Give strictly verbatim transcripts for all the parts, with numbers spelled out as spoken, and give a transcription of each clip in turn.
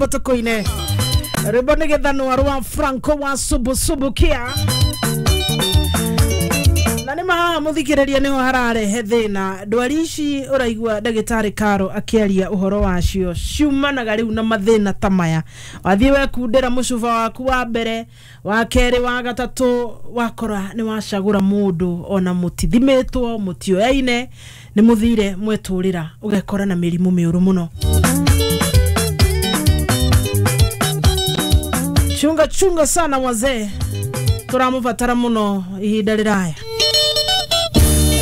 Tukuine rwimbo nĩ gĩthanwa rwa Franco wa subusubukia na nĩ mahaha mũthikĩrĩria nĩho hararehe thĩna. Ndwari ici ũraigua ndagĩtarĩ Karo akĩaria ũhoro wacio ciumanaga rĩu na mathĩna ta maya. Wathiĩ wekundĩra mũcuba waku wa mbere, wa kerĩ, wa gatatũ, wakora nĩ wacagũra mũndũ ona mũtithimĩtwo, mũtioyaine, nĩ mũthire mwetũrĩra, ũgekora na mĩrimũ mĩũru mũno. Chunga chunga sana wazee, tũramũbatara mũno ihinda rĩraya.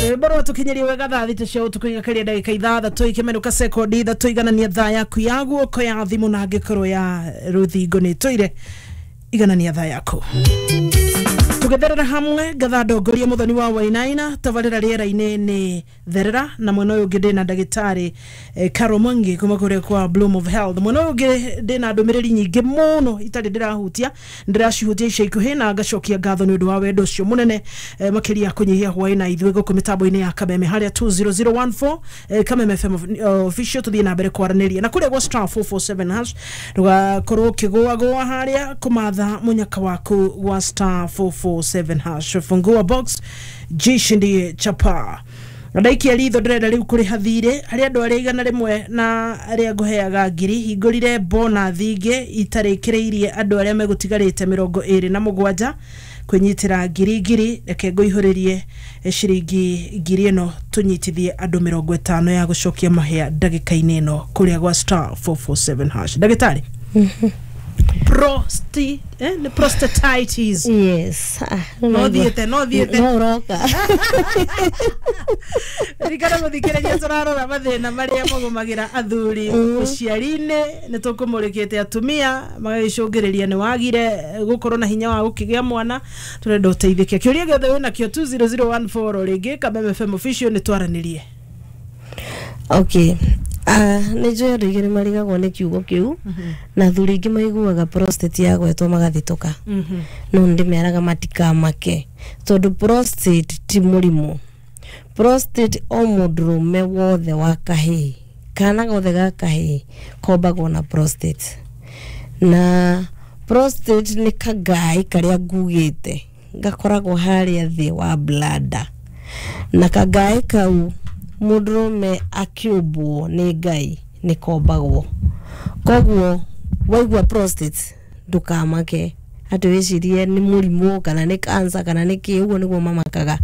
Rwĩmbo rwatũkinyeria wega thaa thita cia ũtukũ igakeria ndagĩka ithathatũ ikĩmenũka sekondi ithatũ iganania thaa yaku ya guoko ya thimũ na angĩkorwo ya rũthingo nĩ ĩtũire iganania thaa yaku. Tũgĩtherera hamwe ngatha ndongoria Muthoni wa Wainaina tabarĩra rĩera-inĩ nĩ therera na mwena ũyũ ũngĩ ndĩna ndagĩtarĩ eh, Caro Mwangi kuma kũrĩa kwa Bloom of Health. Mwena ũyũ ũngĩ ndĩna ndũmĩrĩri nyingĩ mũno itarĩ ndĩrahutia, ndĩracihutia ica ikuhĩ na ngacokia ngatho nĩ ũndũ wa wendo ũcio mũnene eh, makĩria kũnyihia hwaĩ na ithuĩ gũkũ mĩtambo-inĩ ya Kameme harĩa two zero zero one four eh, Kameme F M official tũthiĩ na mbere kwaranĩria na kũrĩa gwa star four four seven hash ndũgakorwo ũkĩgũagũa harĩa kũmatha mũnyaka waku gwa star four four seven hash. Fungua box jishindie chapa. Ndaikia ritho ndĩrenda rĩu kũrĩha thirĩ harĩ andũ arĩa igana rĩmwe na arĩa ngũheaga ngiri hingũrire bonathi ingĩ itarĩkĩrĩirie andũ arĩa megũtigarĩte mĩrongo ĩrĩ na mũgwanja kwĩnyitĩra ngiri ngiri. Reke ngũihũrĩrie ciringi ngiri ĩno tũnyitithie andũ mĩrongo ĩtano ya gũcokia mahĩa ndagĩka-inĩ ĩno kũrĩa gwa star four four seven hash. Ndagĩtarĩ, Prosti, eh, the prostatitis. Yes. Ah, no thiete, no thiete. No roka. Ririkana mũthikĩrĩria tũrarora mathĩna marĩa magũmagĩra athuri ũciari-inĩ, nĩ tũkũmũrĩkĩte atumia magagĩcũngĩrĩria nĩ wagire gũkorwo na hinya wa gũkĩgĩa mwana, tũrenda ũteithĩke. Kĩũria gĩothe wĩnakĩo two zero zero one four rĩngĩ Kameme F M official nĩ twaranĩrie. Okay. Ah, nĩ njũĩ andũ aingĩ nĩ marigagwo nĩ kiugo kĩu na athuri aingĩ maiguaga prostate yagwetwo magathitũka. No ndĩmeraga matikamake tondũ prostate ti mũrimũ. Prostate o mũndũrũme wothe wa kahĩĩ kana gothe ga kahĩĩ kombagwo na prostate. Na prostate nĩ kagaĩ karĩa ngugĩte gakoragwo harĩa thĩ wa bladder, na kagaĩ kau mũndũrũme akĩũmbwo nĩ Ngai nĩ kombagwo. Koguo waigua prostate ndũkamake atĩ wĩcirie nĩ mũrimũ kana nĩ cancer kana nĩ kĩ, ũguo nĩguo mamakaga.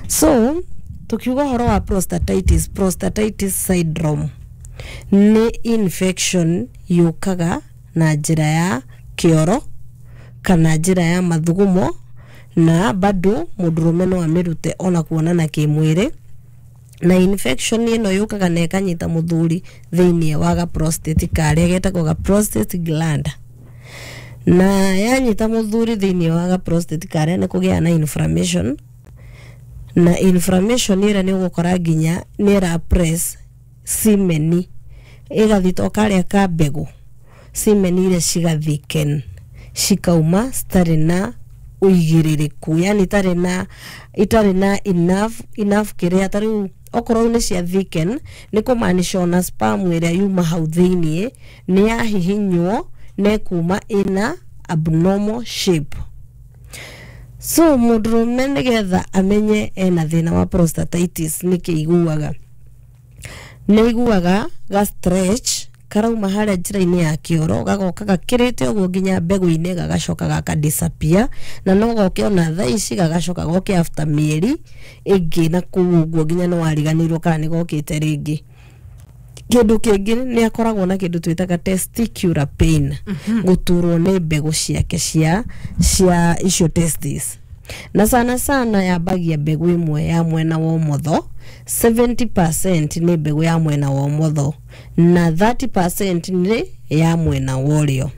So tukiuga ũhoro wa prostatitis, prostatitis syndrome nĩ infection yũkaga na njĩra ya kĩoro kana njĩra ya mathugumo, na bado mũndũrũme no amĩrute ona kuonana kĩmwĩrĩ. Na infection ĩno yũkaga na ĩkanyita mũthuri thĩinĩ wa ga prostate karĩa getagwo ga prostate gland, na yanyita mũthuri thĩinĩ wa ga prostate karĩa nĩ kũgĩa na inflammation, na inflammation ĩrĩa nĩ ũgũkora nginya nĩ ĩra press semen ĩgathita karĩa ka mbegũ, semen iria cigathiken cikauma citarĩ na ũigĩrĩrĩku, yani itarĩ na itarĩ na enough enough kĩrĩa ta rĩu okorwo nĩ cia thicken nĩ kũmaanisha ona sperm ĩrĩa yuma hau thĩiniĩ nĩ yahihinywo na ĩkuma ĩna abnormal shape. So mũndũrũme nĩgetha amenye ena thĩna wa prostatitis nĩkĩ iguaga, nĩ iguaga ga stretch karauma harĩa njĩra-inĩ ya kĩoro gagoka gakĩrĩte ũguo nginya mbegũ-inĩ gagacoka gaka disappear, na no goke ona thaa ici gagacoka goke after mĩeri ĩngĩ na kũu ũguo nginya nĩ wariganĩirwo kana nĩ gokĩte rĩngĩ. Kĩndũ kĩngĩ nĩ akoragwo na kĩndũ twĩtaga testicular pain, gũturwo nĩ mbegũ ciake cia cia icio testis, na sana sana yambagia mbegũ ĩmwe ya mwena wa ũmotho, seventy percent nĩ mbegũ ya mwena wa ũmotho na thirty percent nĩ ya mwena wa ũrĩo.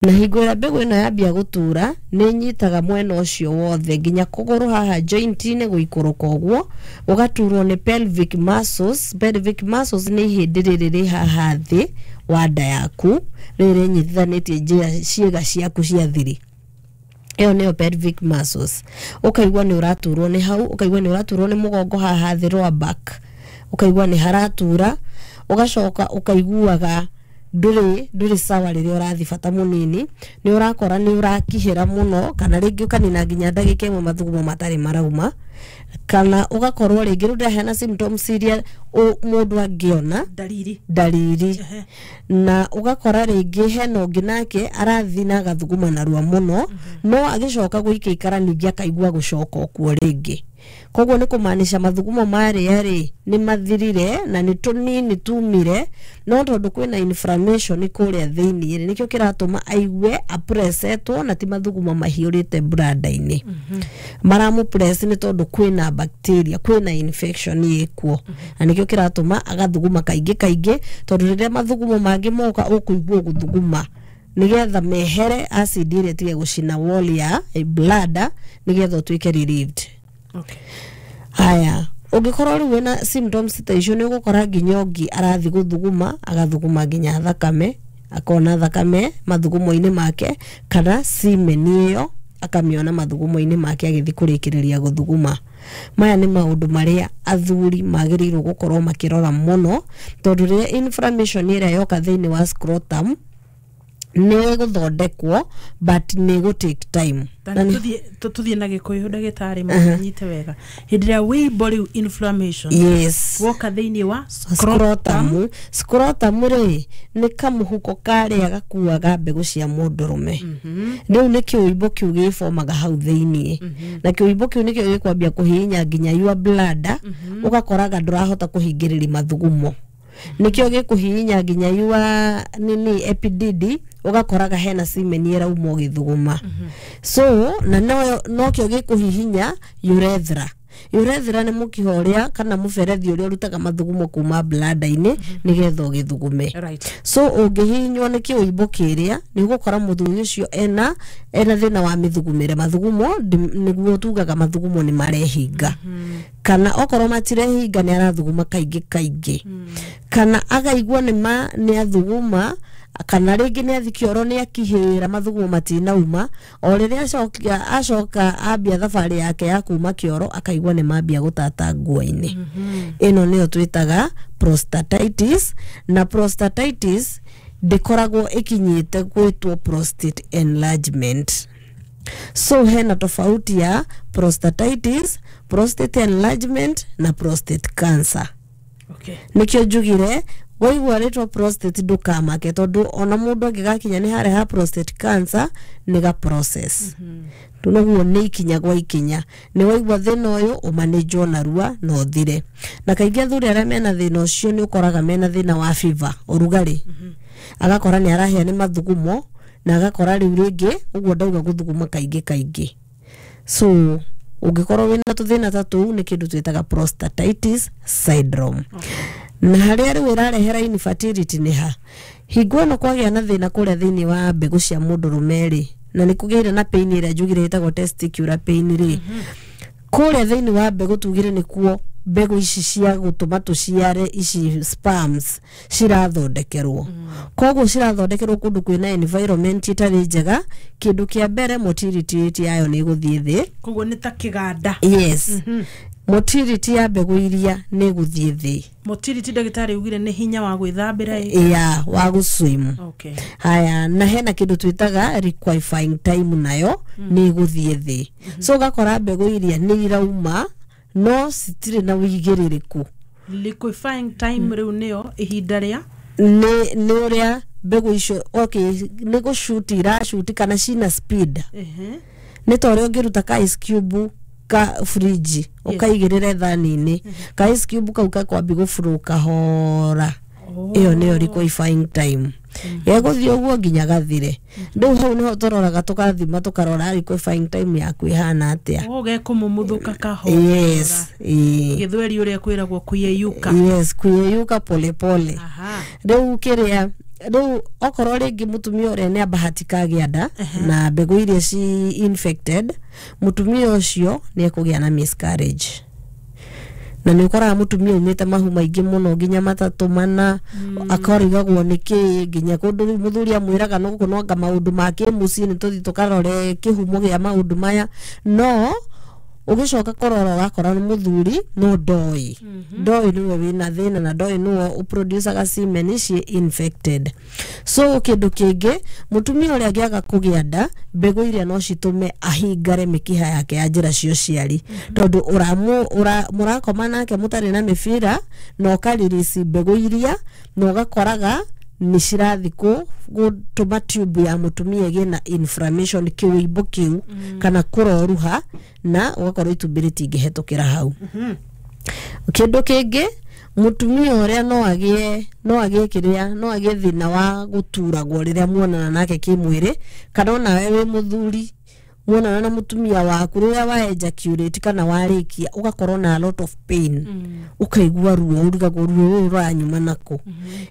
Na hingo ĩrĩa mbegũ ĩno yambia gũtura nĩ ĩnyitaga mwena ũcio wothe nginya kũgũrũ haha joint-inĩ gũikũrũka ũguo, ũgaturwo nĩ pelvic muscles. Pelvic muscles nĩ ihĩndĩ rĩrĩ rĩ haha thĩ wa nda yaku rĩrĩ rĩnyitithanĩtie njĩra ciĩga ciaku cia thiri, ĩyo nĩyo pelvic muscles. Ũkaigua nĩ ũraturwo nĩ hau, ũkaigua nĩ ũraturwo nĩ mũgongo haha thĩ lower back, ũkaigua nĩ haratura, ũgacoka ũkaiguaga ndũrĩ ndũrĩ sawa rĩrĩa ũrathi bata mũnini, nĩ ũrakora nĩ ũrakihĩra mũno, kana rĩngĩ ũkanina nginya ndagĩka ĩmwe mathugumo matarĩ marauma, kana ũgakorwo rĩngĩ rĩu ndĩraheana symptoms iria ũ- mũndũ angĩona Dalili. Ndariri. Na ũgakora rĩngĩ hena ũngĩ nake arathi na agathuguma narua mũno, no agĩcoka gũikaikara ningĩ akaigua gũcoka okuo rĩngĩ. Koguo nĩ kũmaanisha mathugumo marĩa rĩ nĩ mathirire na nĩ tũnini tumire, no tondũ kwĩna inflammation kũrĩa thĩiniĩ rĩ, nĩkĩo kĩratũma aigue apresetwo, na ti mathugumo mahiũrĩte brada-inĩ maramũpress, nĩ tondũ kwĩna bacteria, kwĩna infection ĩkuo, na nĩkĩo kĩratũma agathuguma kaingĩ kaingĩ, tondũ rĩrĩa mathugumo mangĩ moka ũkũigua gũthuguma nĩgetha mehere acid ĩrĩa ĩtige gũcina wall ya bladder, nĩgetha ũtuĩke relieved. Okay. Haya, ũngĩkorwo rĩu wĩna symptoms ta icio, nĩ ũgũkora nginya ũngĩ arathi gũthuguma agathuguma nginya thakame, akona thakame mathugumo-inĩ make, kana semen ĩyo akamĩona mathugumo-inĩ make agĩthiĩ kũrĩkĩrĩria gũthuguma. Maya nĩ maũndũ marĩa athuri magĩrĩirwo gũkorwo makĩrora mũno, tondũ rĩrĩa inflammation ĩrĩa yoka thĩinĩ wa scrotum nĩ ĩgũthondekwo, but nĩ ĩgũ take time. Ta Na nĩ- tuthiĩ tu- tuthiĩ na gĩkũyũ, ndagĩtarĩ, mũnyite wega. Hĩndĩ ĩrĩa wĩimbo rĩu, inflammation, yes woka thĩinĩ wa scrotum. Scrotum, scrotum rĩ nĩ kamũhuko karĩa gakuaga mbegũ cia mũndũrũme. Rĩu nĩ kĩũimbo kĩu gĩbomaga hau thĩiniĩ, na kĩũimbo kĩu nĩkĩo gĩkwambia kũhihinya nginya your bladder, ũgakoraga ndũrahota kũhingĩrĩria mathugumo. Nĩkĩo gĩkũhihinya nginya your nini epididi, ũgakoraga hena semen ĩrauma ũgĩthuguma. So na no nokĩo gĩkũhihinya urethra. Urethra nĩ mũkiha ũrĩa kana mũberethi ũrĩa ũrutaga mathugumo kuma bladder-inĩ nĩgetha ũgĩthugume. Right. So ũngĩhihinywo nĩ kĩũimbo kĩrĩa, nĩ ũgũkora mũthuri ũcio ena ena thĩna wa mĩthugumĩre mathugumo, ndi- nĩguo tugaga mathugumo nĩ marehinga, kana okorwo matirehinga nĩ arathuguma kaingĩ kaingĩ, kana akaigua nĩ ma nĩ athuguma, kana rĩngĩ nĩ athi kĩoro nĩ akihĩra mathugumo matinauma. O rĩrĩa acoka acoka ambia thabarĩ yake ya kuma kĩoro, akaigua nĩ mambia gũtata nguo-inĩ. Ĩno nĩyo twĩtaga prostatitis, na prostatitis ndĩkoragwo ĩkinyĩte gwĩtwo prostate enlargement. So hena tofauti ya prostatitis, prostate enlargement na prostate cancer. Okay. Nikio njugire waigua rĩtwa prostate ndũkamake, tondũ ona mũndũ angĩgakinya nĩ harĩa ha prostate cancer, nĩ ga process noguo, nĩ ikinya gwa ikinya. Nĩ waigua thĩna ũyũ, ũmanĩnjwo narua na ũthire. Na kaingĩ athuri arĩa mena thĩna ũcio nĩ ũkoraga mena thĩna wa fever, ũrugarĩ, agakora nĩ arahĩa nĩ mathugumo, na agakora rĩu rĩngĩ ũguo ndauga gũthuguma kaingĩ kaingĩ. So ũngĩkorwo wĩna tũthĩna ta tũu, nĩ kĩndũ twĩtaga prostatitis syndrome. Na harĩa rĩu ĩrarehera infertility nĩ ha hingo ĩno kwagĩa na thĩna kũrĩa thĩinĩ wa mbegũ cia mũndũrũme rĩ, na nĩ kũgĩire na pain ĩrĩa njugire ĩtagwo testicular pain rĩ, kũrĩa thĩinĩ wa mbegũ tugire nĩkuo mbegũ ici cia gũtũma tũciare, ici sperms, cirathondekerwo. Koguo cirathondekerwo kũndũ kwĩna environment ĩtarĩ njega, kĩndũ kĩa mbere motility rate yayo nĩ ĩgũthiĩ thĩ. Koguo nĩ ta kĩganda. Yes, motility ya mbegũ iria nĩ ĩgũthiĩ thĩ. Motility, ndagĩtarĩ ugire nĩ hinya wa gwĩthambĩra ĩ? Ya wa gũswim. Okay. Haya, na hena kĩndũ twĩtaga liquefying time, nayo nĩ ĩgũthiĩ thĩ. So ũgakora mbegũ iria nĩ irauma no citirĩ na wĩigĩrĩrĩku. Liquefying time rĩu nĩyo ihinda rĩa nĩ nĩ ũrĩa mbegũ icio, okay, nĩ gũcuti iracuti kana cina speed. Ehe. Nĩ ta ũrĩa ũngĩruta ka ice cube ka fridge ũkaigĩrĩre thani-inĩ, ka ice cube kau gakwambi gũburu kahora. Ĩyo nĩyo liquefying time. Gegũthiĩ ũguo nginya gathire. Rĩu hau nĩho tũroraga, tũkathima, tũkarora liquefying time yaku ĩhana atĩa. O gekũmumuthũka kahora. Yes, ĩĩ. Gĩthweri ũrĩa kwĩragwo kuyeyuka. Yes, kuyeyuka polepole. Aha. Rĩu kĩrĩa rĩu okorwo rĩngĩ mũtumia ũrĩa nĩ abahatika agĩa nda na mbegũ iria ci infected, mũtumia ũcio nĩ ekũgĩa na miscarriage, na nĩ ũkoraga mũtumia umĩte mahu maingĩ mũno nginya matatũ mana, akarigagwo nĩ kĩ, nginya kũndũ rĩu mũthuri amwĩraga no gũkũ noanga maũndũ ma kĩmũciĩ, nĩ tũthiĩ tũkarore kĩhumo gĩa maũndũ maya, no Ũgĩcoka kũrora ũgakora nĩ mũthuri no ndoi ndoi nĩwe wĩna thĩna na ndoi nĩwe ũproducaga semen ciĩ infected. So kĩndũ kĩngĩ, mũtumia ũrĩa angĩaga kũgĩa nda, mbegũ iria no citũme ahingare mĩkiha yake ya njĩra cia ũciari, tondũ ũramu ũra, mũrakoma nake mũtarĩ na mĩbira na ũkaririsi mbegũ iria na ũgakoraga nĩ cirathi gũtũma tube ya mũtumia ĩgĩe na inflammation, kĩũimbo kĩu kana kũroruha, na ũgakorwo itumbĩ rĩtingĩhetũkĩra hau. Kĩndũ kĩngĩ, mũtumia ũrĩa no agĩe no agĩe kĩrĩa no agĩe thĩna wa gũturagwo rĩrĩa muonana nake kĩmwĩrĩ, kana onawe wĩ mũthuri muonana na mũtumia waku, rĩrĩa wa ejaculate kana warĩkia ũgakorwo na a lot of pain, ũkaigua ruo, ũrigagwo ruo rũrũ rũranyuma nakũ.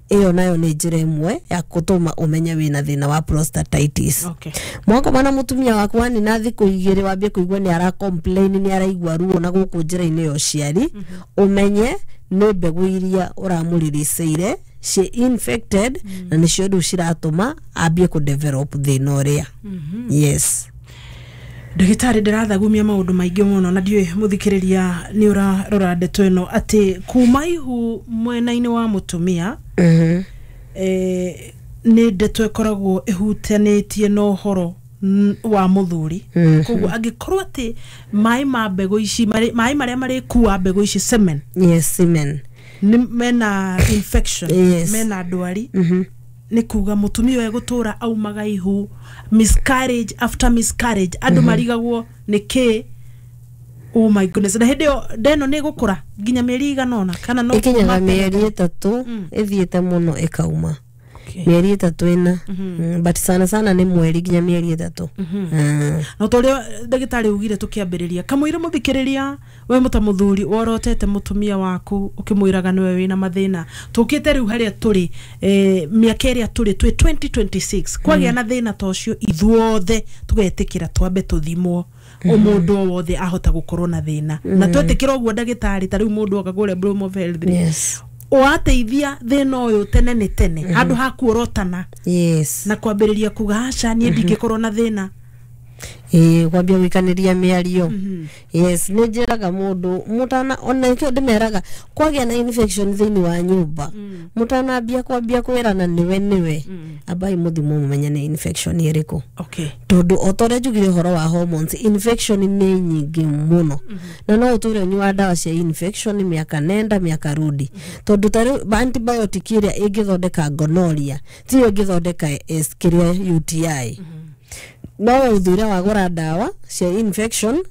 Ĩyo nayo nĩ njĩra ĩmwe ya gũtũma ũmenye wĩna thĩna wa prostatitis. Okay. Mwakoma na mũtumia waku wanina thikũ igĩrĩ wambie kũigua nĩ ara complain, nĩ araigua ruo na gũkũ njĩra-inĩ ya ũciari, ũmenye nĩ mbegũ iria ũramũririceire ciĩ infected na nĩcio rĩu ciratũma ambie kũ develop thĩna ũrĩa. Yes. Ndagĩtarĩ, ndĩrathagumia maũndũ maingĩ mũno na ndiũĩ mũthikĩrĩria nĩ ũrarora ndeto ĩno atĩ kuma ihu mwena-inĩ wa mũtumia Mhm. eh, nĩ ndeto ĩkoragwo ĩhutanĩtie na ũhoro n- wa mũthuri. Mhm. Koguo angĩkorwo atĩ maĩ ma mbegũ ici marĩ- maĩ marĩa marĩkua mbegũ ici, semen, Yes, semen. nĩ mena infection, Yes. mena ndwari, Mhm. nĩ kuga mũtumia ũyũ egũtũra aumaga ihu, miscarriage after miscarriage, andũ marigagwo nĩ kĩ. Oh my goodness. Na hĩndĩ ĩyo ndeno nĩ ĩgũkũra nginya mĩeri igana ũna kana no Ĩkinyaga kuma tene? mĩeri ĩtatũ Mm. ĩthiĩte mũno ĩkauma. Okay. Mĩeri ĩtatũ ĩna. Mm, but sana sana nĩ mweri nginya mĩeri ĩtatũ. Mm. No ta ũrĩa ndagĩtarĩ ugire tũkĩambĩrĩria, kamũira mũthikĩrĩria we mũta mũthuri worotete mũtumia waku ũkĩmwĩraga nĩwe wĩna mathĩna, tũkĩte rĩu harĩa tũrĩ, eh, mĩaka ĩrĩa tũrĩ twĩ twenty twenty-six, kwagĩa na thĩna ta ũcio ithuothe tũgetĩkĩra twambe tũthimwo. O mũndũ o wothe ahota gũkorwo na thĩna na twetĩkĩra ũguo, ndagĩtarĩ, ta rĩu mũndũ oka kũrĩa Bloom of Health rĩ, Yes. wateithia thĩna ũyũ tene nĩ tene handũ ha kuorotana Yes. na kwambĩrĩria kuga aca niĩ ndingĩkorwo na thĩna. Ĩĩ, kwambia gũikanĩria mĩario. Yes, nĩ njĩraga mũndũ mũtana ona nĩkĩo ndĩmeraga kwagĩa na infection thĩinĩ wa nyũmba, mũtanambia kwambia kwĩrana nĩwe nĩwe, ambai mũthimwo mũmenye nĩ infection ĩrĩkũ, okay tondũ o ta ũrĩa njugire ũhoro wa hormones, infection nĩ nyingĩ mũno na no ũtũre ũnyua ndawa cia infection mĩaka nenda mĩaka rudi, tondũ ta rĩu antibiotic ĩrĩa ĩngĩthondeka gonorrhea tiyo ĩngĩthondeka S kĩrĩa U T I. No ũthure wagũra ndawa cia infection,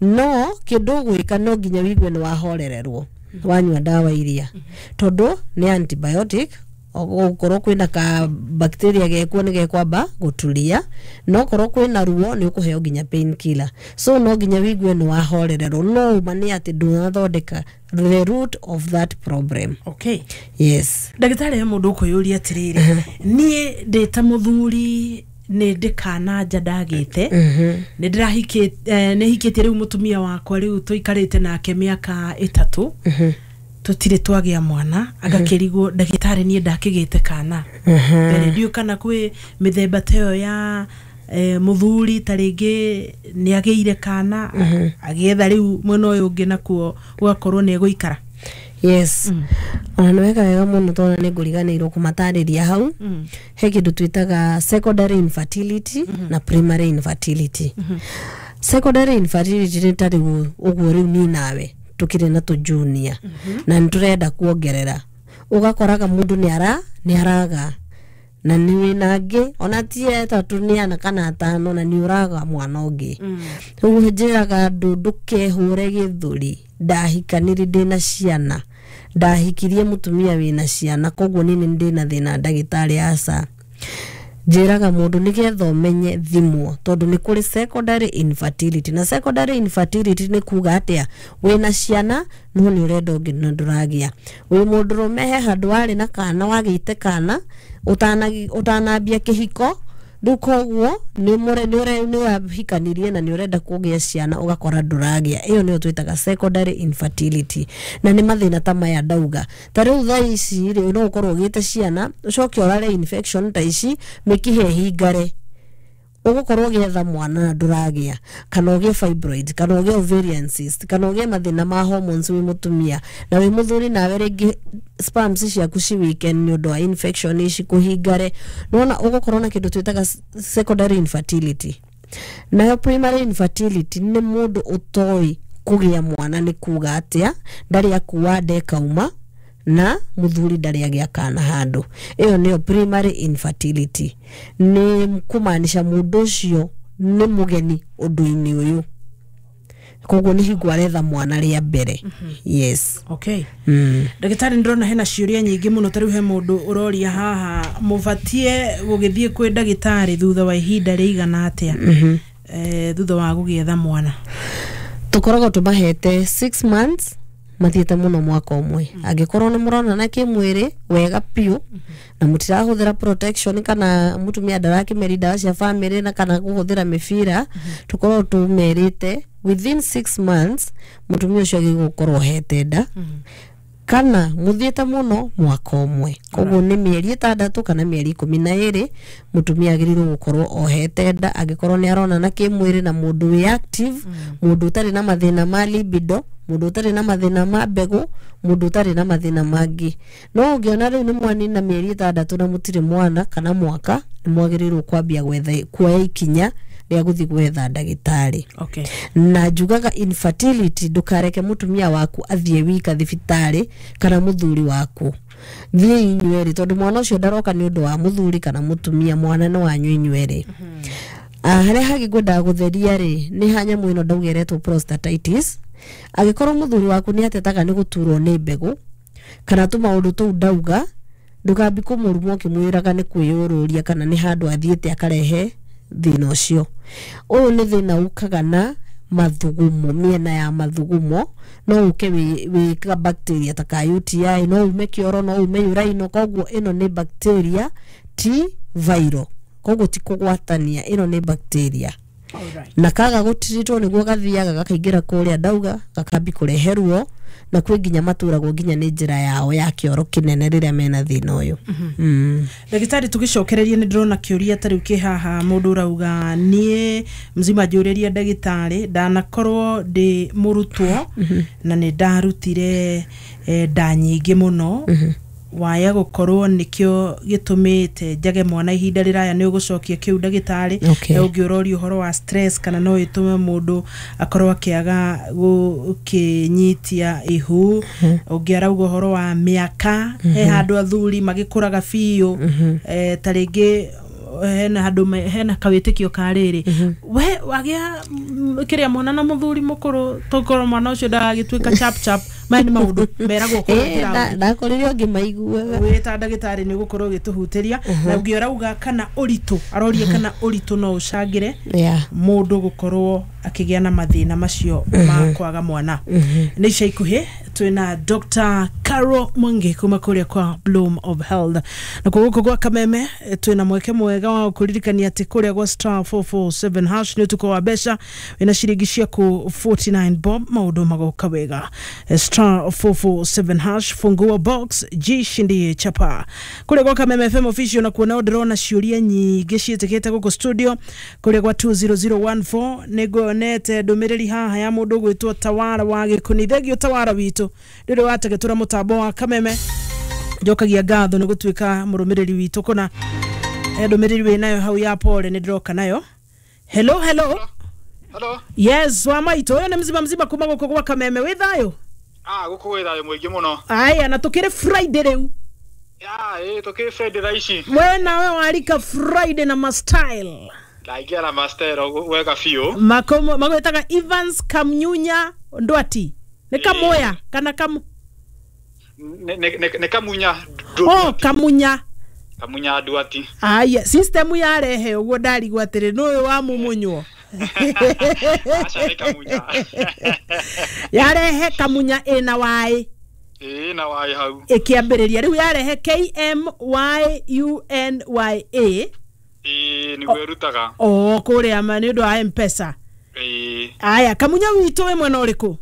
no kĩndũ ũgwĩka no nginya wigue nĩ wahorererwo wanyua ndawa iria, tondũ nĩ antibiotic. Okorwo kwĩna ka bacteria gekuo nĩ gekwamba gũturia, no korwo kwĩna ruo nĩ ũkũheo nginya painkiller, so no nginya wigue nĩ wahorererwo, no ũma nĩ atĩ ndũnathondeka the root of that problem. Okay. Yes. Ndagĩtarĩ, he mũndũ ũkwĩyũria atĩrĩrĩ, niĩ ndĩ ta mũthuri nĩ ndĩ kana nja ndagĩte, nĩ ndĩrahikĩte, nĩ hikĩtie rĩu mũtumia wakwa, rĩu tũikarĩte nake mĩaka ĩtatũ, tũtirĩ twagĩa mwana. Agakĩrigwo, ndagĩtarĩ, niĩ ndakĩgĩte kana mbere ndiũ kana kwĩ mĩthemba ta ĩyo ya eh, mũthuri ta rĩngĩ nĩ agĩire kana agĩetha rĩu mwena ũyũ ũngĩ nakuo gũgakorwo nĩ egũikara. Yes, ona nĩ weka wega mũno tondũ nĩ ngũriganĩirwo kũmatarĩria hau. He kĩndũ twĩtaga secondary infertility na primary infertility. Secondary infertility nĩ ta rĩu ũguo rĩu niĩ nawe tũkĩrĩ na tũjunia na nĩ tũrenda kuongerera, ũgakoraga mũndũ nĩ ara nĩ araga na nĩ wĩna angĩ ona ti etatũ nĩ ana kana atano na nĩ ũraga mwana ũngĩ. Ũguo njĩraga andũ ndũkehũre gĩthũri, ndahikanire ndĩna ciana, ndahikirie mũtumia wĩna ciana, koguo niĩ nĩ ndĩna thĩna ndagĩtarĩ, aca. Njĩraga mũndũ nĩgetha ũmenye thimwo, tondũ nĩ kũrĩ secondary infertility, na secondary infertility nĩ kuga atĩa? Wĩna ciana no nĩ ũrenda ũngĩ na ndũragĩa. Wĩ mũndũrũme, he handũ warĩ na kana, wagĩte kana ũtana- ũtanambia kĩhiko, rĩu koguo nĩ mũre- nĩ ũre- nĩ wahikanirie na nĩ ũrenda kũgĩa ciana ũgakora ndũragĩa. Ĩyo nĩyo twĩtaga secondary infertility, na nĩ mathĩna ta maya ndauga. Ta rĩu thaa ici rĩ, no ũkorwo ũgĩte ciana ũcoke ũrare infection ta ici, mĩkiha ĩhingare. Ũgũkorwo ũgĩetha mwana na ndũragĩa, kana ũgĩe fibroid, kana ũgĩe ovarian cyst, kana ũgĩe mathĩna ma hormones wĩ mũtumia na wĩ mũthuri, nawe rĩngĩ sperms ciaku ci weaken nĩ ũndũ wa infection ici kũhingare. Nĩwona ũgũkorwo na kĩndũ twĩtaga secondary infertility. Nayo primary infertility nĩ mũndũ ũtoĩ kũgĩa mwana nĩ kuga atĩa, ndarĩ akua nda ĩkauma, na mũthuri ndarĩ agĩa kana handũ. Ĩyo nĩyo primary infertility, nĩ kũmaanisha mũndũ ũcio nĩ mũgeni ũndũ-inĩ ũyũ, koguo nĩ hingo aretha mwana rĩa mbere. Yes. Okay. mm. Ndagĩtarĩ, ndĩrona hena ciũria nyingĩ mũno. Ta rĩu he mũndũ ũroria haha, mũbatie gũgĩthiĩ kwĩ ndagĩtarĩ thutha wa ihinda rĩigana atĩa eh, thutha wa gũgĩetha mwana? Tũkoragwo tũmahete six months, mathiĩte mũno mwaka ũmwe. Angĩkorwo nĩ mũronana kĩmwĩrĩ wega biũ na mũtirahũthĩra protection, kana mũtumia ndarakĩmeria ndawa cia family na kana kũhũthĩra mĩbira, tũkoragwo tũmerĩte within six months mũtumia ũcio agĩrĩirwo gũkorwo ohete nda, kana mũthiĩte mũno mwaka ũmwe. Koguo nĩ mĩeri ĩtandatũ kana mĩeri ikũmi na ĩrĩ mũtumia agĩrĩirwo gũkorwo ohete nda, angĩkorwo nĩ aronana kĩmwĩrĩ na mũndũ wĩ active, mũndũ ũtarĩ na mathĩna ma libido, mũndũ ũtarĩ na mathĩna ma mbegũ, mũndũ ũtarĩ na mathĩna mangĩ. No ũngĩona rĩu nĩ mwanina mĩeri ĩtandatũ na mũtirĩ mwana, kana mwaka, nĩ mwagĩrĩirwo kwambia gwetha, kuoya ikinya rĩa gũthiĩ gwetha ndagĩtarĩ. Okay na njugaga infertility, ndũkareke mũtumia waku athiĩ wika thibitarĩ kana mũthuri waku, thiĩ inyuerĩ, tondũ mwana ũcio ndaroka nĩ ũndũ wa mũthuri kana mũtumia, mwana nĩ wanyu inyuerĩ. Ah, harĩa hangĩ ngwendaga gũtheria rĩ, nĩ ha nyamũ ĩno ndauga ĩretwo prostatitis. Angĩkorwo mũthuri waku nĩ atetaga nĩ gũturwo nĩ mbegũ kana tũmaũndũ tũu ndauga, ndũkambi kũmũruma ũkĩmwĩraga nĩ kwĩyũrũria kana nĩ handũ athiĩte akarehe thĩna ũcio. Ũyũ nĩ thĩna ũkaga na mathugumo, mĩena ya mathugumo. No ũke wĩ wĩ ka bacteria ta ka U T I, no ume kĩoro, no ume uraino. Koguo ĩno nĩ bacteria, ti viral, koguo ti kũgwatania, ĩno nĩ bacteria. Alright. Na kaga gũtiritwo nĩguo gathiaga gakaingĩra kũrĩa ndauga, gakambi kũrehe ruo, na kwĩ nginya maturagwo nginya nĩ njĩra yao ya kĩoro kĩnene rĩrĩa mena thĩna ũyũ mm. Ndagĩtarĩ, tũgĩcokereria, nĩ ndĩrona kĩũria ta rĩu kĩ haha, mũndũ ũrauga, "Niĩ mzima njũrĩria ndagĩtarĩ, ndanakorwo ndĩ mũrutwo na nĩ ndarutire eh, nda nyingĩ mũno, waya gũkorwo nĩkĩo gĩtũmĩte njage mwana ihinda rĩraya." Nĩ ũgũcokia kĩu, ndagĩtarĩ? Okay. Na ũngĩ ũroria ũhoro wa stress, kana no ĩtũme mũndũ akorwo akĩaga gũkĩnyitia ihu. Ũngĩ arauga ũhoro wa mĩaka, he handũ athuri magĩkũraga biũ, eh, ta rĩngĩ hena handũ me- hena kawĩtĩkio ka rĩrĩ, we wagĩa mm, kĩrĩa mwana na mũthuri mũkũrũ, tokorwo mwana ũcio ndagagĩtuĩka chap chap. Maya nĩ maũndũ meragwo kũrĩa Eh, nda- kĩrathi. Ndakorire ũngĩ maiguaga. Wĩ ta ndagĩtarĩ nĩ ũgũkorwo ũgĩtũhutĩria. Na ũngĩ ũrauga kana ũritũ, aroria kana ũritũ no ũcangĩre yeah. mũndũ gũkorwo akĩgĩa na mathĩna macio ma kwaga mwana. Nĩ ica ikuhĩ twĩna Doctor Carol Mwangi kuma kũrĩa kwa Bloom of Health, na kwa gũkũ gwa Kameme eh, twĩna mweke mwega wa kũririkania atĩ kũrĩa gwa star four four seven hash nĩ ũtukũ wa mbeca. Wĩna ciringi ciaku forty-nine bob, maũndũ magoka wega. Eh, star four four seven hash, fungua box, jishindie chapa. Kũrĩa gwa Kameme F M official na kuona ndĩrona ciũria nyingĩ ciĩtĩkĩte gũkũ studio. Kũrĩa gwa two zero zero one four nĩ nguonete ndũmĩrĩri haha ya mũndũ ũgwĩtwo Tawara wa Gĩkũni. Thengio Tawara witũ, rĩrĩ wategetũra mũtambo wa Kameme, njokagia ngatho nĩ gũtuĩka mũrũmĩrĩri witũ. Kũna he ndũmĩrĩri wĩ nayo hau ya pole, nĩ ndĩroka nayo. Hello, hello. Hello. Yes, wa maitũ, ũyũ nĩ mzima mzima kuma gũkũ gwa Kameme. Wĩ thayũ? Ah, gũkũ gwĩ thayũ mũingĩ mũno. Aya, na tũkĩrĩ Friday rĩu. Ya, ĩ tũkĩrĩ Friday thaa ici. We nawe warika Friday na mastyle. Ndaingĩra na mastero wega biũ. Makomo magwĩtaga Evans Kamnyunya Ndwati, nĩ Kamoya kana Kamu? Nĩ- nĩ nĩ- nĩ Kamunya. Oh, Kamunya. Kamunya Nduati. Aya, system yarehe ũguo, ndarigwo atĩrĩ nũyũ wa mumunywo. Aca, nĩ Kamunya. Yarehe Kamunya ĩna waĩ. Ĩ na waĩ hau. Ĩkĩambĩrĩria rĩu yarehe K M Y U N Y A. Ĩ nĩguo ĩrutaga. O kũrĩa ma nĩ ũndũ wa M-Pesa. Ĩ. Aya, Kamunya witũ, wĩ mwena ũrĩkũ?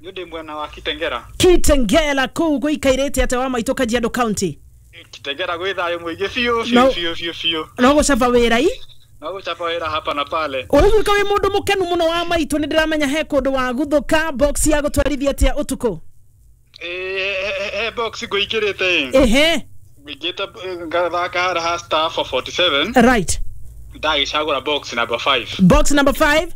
Nĩ ndĩ mwena wa Kitengera. Kitengela kũu gũikairĩte atĩa, wa maitũ, Kajiado County? Kitengera gwĩ thayũ mũingĩ biũ No. biũ biũ biũ biũ. No gũcaba wĩra i? No gũcapa wĩra hapa na pale. Ũraiguĩka wĩ mũndũ mũkenu mũno wa maitũ, nĩ ndĩramenya he kũndũ wagũthũka. Box ya gũtwarithia atĩa ũtukũ? Ĩĩ, he box ngũingĩrĩte. Ehe. Ngũingĩte ngathaka harĩa ha star four forty-seven. Right. Ndagĩcagũra box number five. Box number five.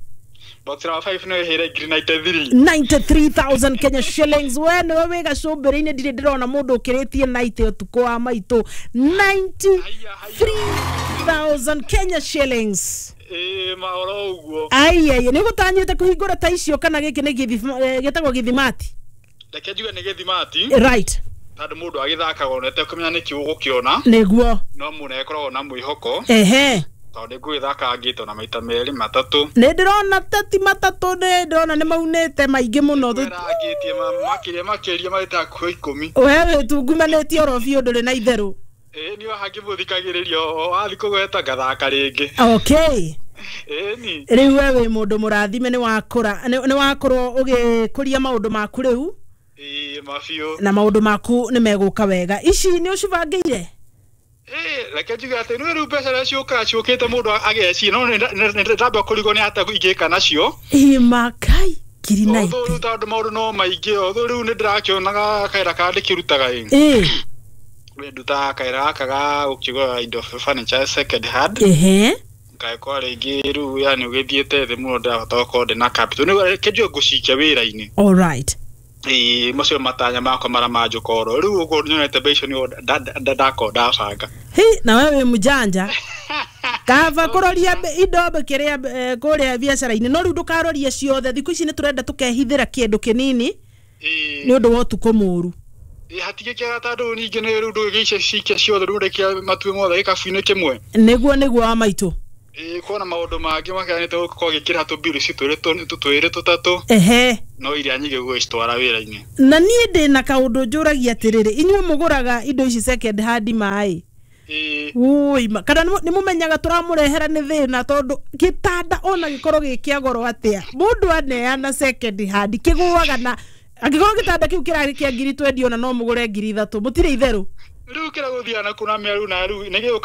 Box number five no ĩhĩre ngiri ninety-three. ninety-three thousand Kenya shillings. We nĩwe wĩ gacũmbĩrĩ-inĩ, ndirĩ ndĩrona mũndũ ũkĩrĩtie ninety ũtukũ wa maitũ. ninety-three thousand Kenya shillings. Ĩĩ, mahoro ũguo. Aiai, nĩ gũtanyĩte kũhingũra ta icio kana gĩkĩ nĩ gĩthima- eh, gĩtagwo gĩthimati? Reke njuge nĩ gĩthimati. Right. Tondũ mũndũ agĩthakaga ona etekũmenya nĩkĩ ũgũkĩona. Nĩguo. No mũno ĩkoragwo na mwĩhoko. Ehe. Tondũ ngũgĩthaka ngĩte ona maita merĩ matatũ. Nĩ ndĩrona teti matatũ, nĩ ndĩrona nĩ maunĩte maingĩ mũno. Kwĩra ngĩtie makĩria makĩria maita hakuhĩ ikũmi. We wĩtungumanĩtie oro biũ, ndũrĩ na itherũ. Ĩĩ, niĩ hangĩmũthikagĩrĩria o wathiĩ kũgweta ngathaka rĩngĩ. Okay. Ĩĩ ni. Rĩu we wĩ mũndũ mũrathime, nĩ wakũra, nĩ nĩ wakorwo ũgĩkũria maũndũ maku rĩu. Ĩĩ, mabiũ. Na maũndũ maku nĩ megũka wega. Ici nĩ ũcibangĩire? Ĩĩ, reke njuge atĩ nĩ rĩu mbeca iria ciũkaga ciũkĩte mũndũ ageciria, no nĩ ndamba kũrigwo nĩ atĩa ingĩka nacio. Imakai ngiri Although rĩu ninety. Tondũ maũndũ no maingĩ, although rĩu nĩ ndĩrakĩonaga kaĩra karĩa ndĩkĩrutaga ĩ. Ĩ. Ndutaga kaĩra gaka ga gũkĩgũra indo, furniture second hand. Ehe. Ngagĩkorwo rĩngĩ rĩu yani ũgĩthiĩte thĩ mũno, ndĩrahota gũkorwo ndĩna capital, rĩu reke njuge ngũcikia wĩra-inĩ. All right. Ĩĩ, macio matanya makwa marĩa manjũka oro rĩu ũguo nyonete mbeca icio nĩo ndakorwo ndabanga. Hi, na wewe wĩ mũjanja, kaba kũroria mbe- indo kĩrĩa eh, kũrĩa biacara-inĩ, no rĩu ndũkarorie ciothe. Thikũ ici nĩ tũrenda tũkehithĩra kĩndũ kĩnini Ĩĩ. nĩ ũndũ wa ũtukũ mũru. Ĩĩ, hatigĩ kĩega tondũ ningĩ nĩ rĩu ndũgĩicia cikia ciothe, rĩu rekia matuĩ mothe gĩkabu-inĩ kĩmwe. Nĩguo, nĩguo wa maitũ. Ĩĩ, kuona maũndũ mangĩ makianĩte gũkorwo gĩkĩra tũmbiru ci twĩrĩ twĩrĩ tũtatũ. Ehe. No iria nyingĩ gũgĩcitwara wĩra-inĩ. Na niĩ ndĩ na kaũndũ njũragia atĩrĩrĩ, inyuĩ mũgũraga indo ici second hand maĩ? Ĩĩ. Ui, ma- kana nĩ mũmenyaga tũramũrehera nĩ thĩna, tondũ gĩtanda ona gĩkorwo gĩ kĩa goro atĩa, mũndũ aneana second hand kĩgũaga, na angĩkorwo gĩtanda kĩu kĩrarĩ kĩa ngiri twendi, ona no mũgũre ngiri ithatũ, mũtirĩ itherũ. Rĩu kĩrĩa gũthiaga na kuna mĩaru na rĩu nĩ gĩũka.